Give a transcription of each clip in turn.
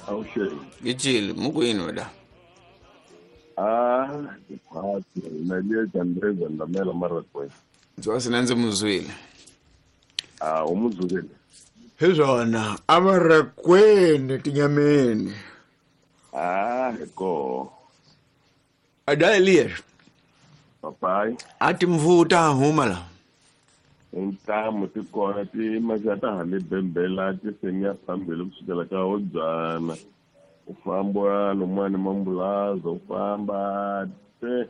Awuxeni. Gicile mukwini weda. Ah, tiphati na le Andreza Ndamela Marakwe. Ndzwasi na ndzi muzwile. Ah, u muzwile. Hi swona a va ri kwini tinyameni. Ah, hi koho. A da Elias. Papai. A timvuta huma la. Intamu ti kona ti maxa ta ha le bembela ti seniya phambili kusukela ka Hobyana. U famba lomuwani Mambulaza u famba te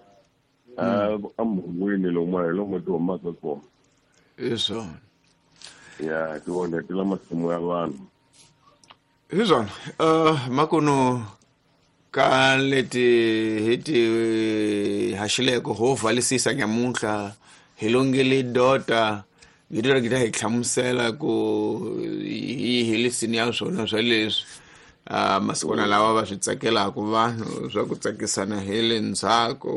a emhungwini lomuwa hi lomu ti humaka kona. Hi swona. Ya ti onhetela masimu ya vanhu. Hi swona. Makunu ka leti hi ti haxileko ho vhalisisa nyamuntlha hi longele dota ngito ri hi hlamusela ku hi helisini ya swona swa leswi masikwana lawa va swi tsakelaka vanhu swa ku tsakisana hi le ndzhaku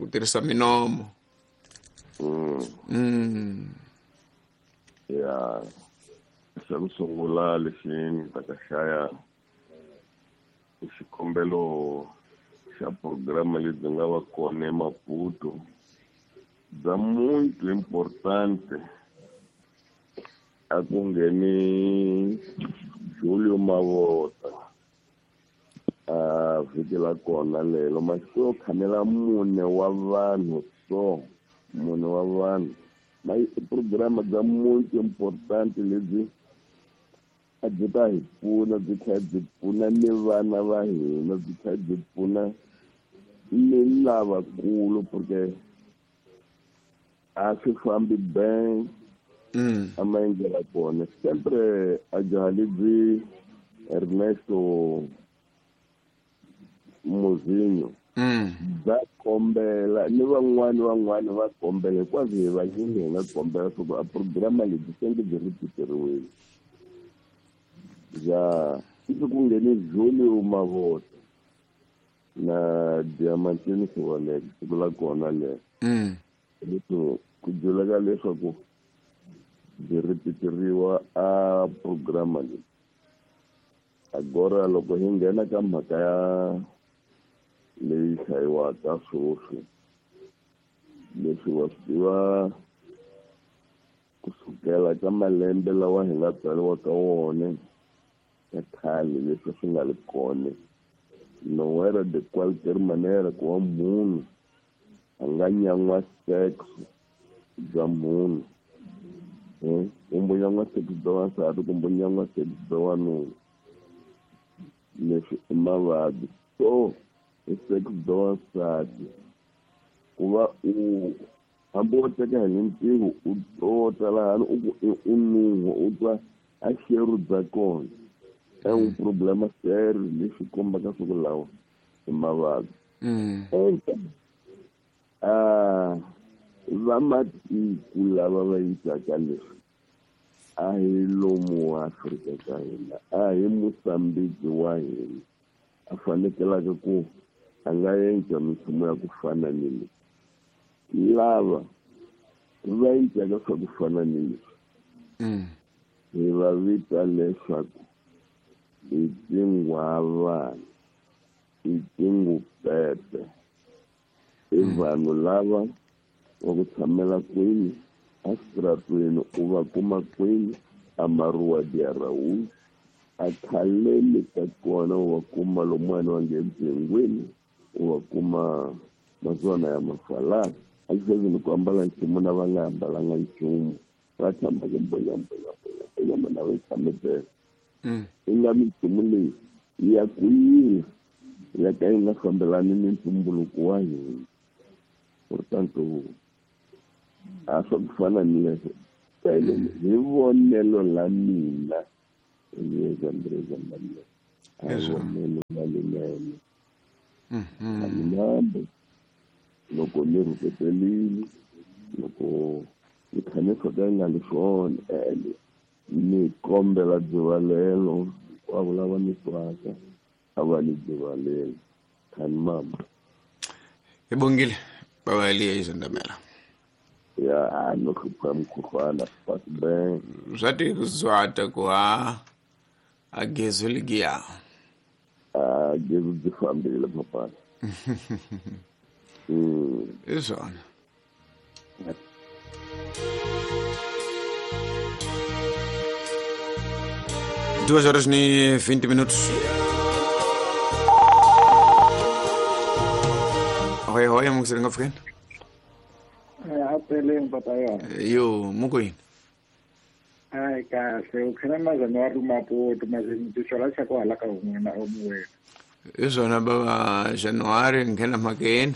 ku tirhisa minomo. Ya xa ku sungula lexi ni ta ka xaya i xikombelo xa programa lebyi nga va kona eMaputo bya muito importante a ku ngheni Julio Mavota a vhiki la kona lelo masiku yo khamela mune wa vanhu so mune wa vanhu ma i programa bya muito importante lebyi a byi ta hi pfuna byi tlhela byi pfuna ni vana va hina byi tlhela byi pfuna ni lavakulu porque a swi fambi ben a maendlela kona sempre a jaha lebyi Ernesto Mozinho bya kombela ni van'wani van'wani va kombela hinkwaswo hi vanyingi hi nga kombela swa ku a programa lebyi senke byi ripiteriwile bya ivi ku nghene Julio Mavota na Diamantini Sivaleke siku la kona lero. Leswo ku byeleka leswaku byi ripiteriwa a programa leyi. Agora loko hi nghena ka mhaka ya leyi hlayiwaka sweswi leswi wa swi tiva kusukela ka malembe lawa hi nga tswariwa ka wona ya khale leswi swi nga ri kona no era de qualquer manera ku va munhu a nga nyan'wa sex bya munhu kumbe nyan'wa sex bya wansati kumbe nyan'wa sex bya wanuna leswi i mavabyi so i sex bya wansati ku va u hambi wo teka hi nintiho u tota lahani u ku u nuhwa u twa a xeru bya kona é um problema sério lexi kombaka swa ku lawa i mavabyi. Vamatiko lava va yisaka leswi a hi lomu wa Afrika ka hina a hi Mozambique wa hina a fanekelaka ku a nga endla minchumu ya ku fana ni leyi lava va endlaka swa ku fana ni leswi hi va vita leswaku i tinghwavana i tingupepe i vanhu lava va ku tshamela kwini eswitarateni u va kuma kwini a Maruwa de Araújo a khaleni ka kona u va kuma lomuwani va nge Bengwini u va kuma mazona ya mafalana a xi ni ku ambala nchumu na va nga ambalanga nchumu va tshama ku bonya bonya bonya bonya mana va tshame tele i nga minchumu leyi ya ku yini ya ka yi nga fambelani ni ntumbuluko wa hina portanto a swa ku fana ni leswo hi vonelo la mina Eliezandrezandamela a hi vonelo la linene a loko ni rhuketelile loko ni kha ni swo ka yi nga li swona ene ni kombela dzivalelo hinkwavo lava ni twaka a va ni dzivalelo khani mama hi bongile baba Eliezandamela ya no hlupha mukhuhlwana pasben swa ti zwata ku ha a gezu ligiya. A gezi byi fambile papana. Hi swona. 2h20. Hoi hoi, mungiseri ngapfukeni. Apeleni papa yona. Yo, mukwini. Hayi kahle, u khena mazana wa ri Maputo mazini xa ku hala ka un'wana omuwena. Hi swona baba January nghena mhakeni.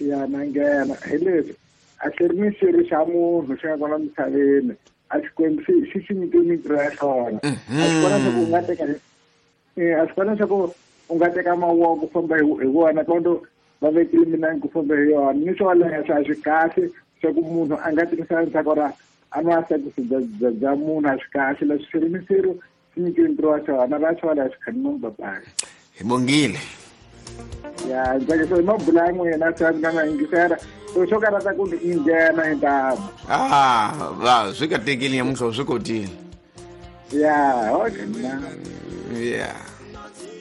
Ya na nghena hi leswi a xi ri ni xirho xa munhu xi nga kona misaveni a Xikwembu xi xi nyike mintirho ya xona. A swi kona swa ku u nga teka a swi kona swa ku u nga teka mavoko ku famba hi wona kondo va vekile minangi ku famba hi yona ni swo leswo a swi kahle swa ku munhu a nga tirhisa ndzhaku ra a nwa sekisi bya munhu a swi kahle leswi xirho ni xirho xi nyikiwe ntirho wa xona va xona a swi khani papayi. Hi bongile. Ya ntsakisa hi mabula ya n'wina swa nga ma yingisela so swo karata ku ni nghena hi ntamu. Ah, va swi katekile nyamuntlha swi kotile. Ya okay na. Yeah.